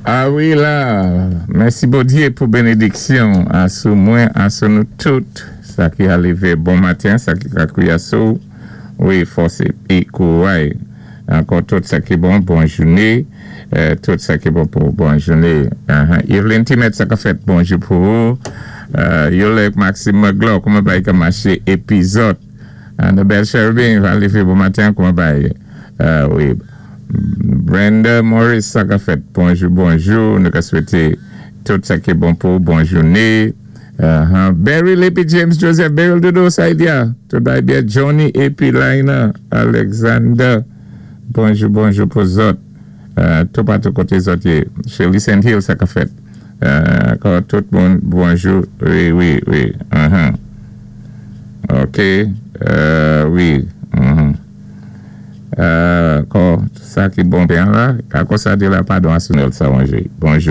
A wi la, mèsi Bondyé pou bénédiksyon asou mwen, asou nou tout. Sa ki ka lévé bon maten, sa ki ka kwié asou, wi, fòs épi kouray. Ankò tout sa ki bon, bon jouné, tout sa ki bon pou bon jouné. Evelyn Timet, sa ka fèt, bonjou pou ou. Yolek Maxime Magloire, kouman bagay ka maché épi zòt? Annabelle Cherubin, va lévé bon maten, kouman bagay? Wi. Brenda Morris, sa ka fèt, bonjou, bonjou. Nou ka swété tout sa ki bon pou bon jouné. Beryl épi James Joseph, Beryl Dodo, sa y diya? Tout bagay byen, Johnny épi Laina Alexander, bonjou, bonjou pou zòt. Toupatou koté zòt yé. Shirley St. Hill, sa ka fèt? Ankò tout moun, bonjou. Wi. OK, wi. Ankò, sa ki bon byen la, ankò sa di la, padon, Asunel Sawanjé. Bonjou.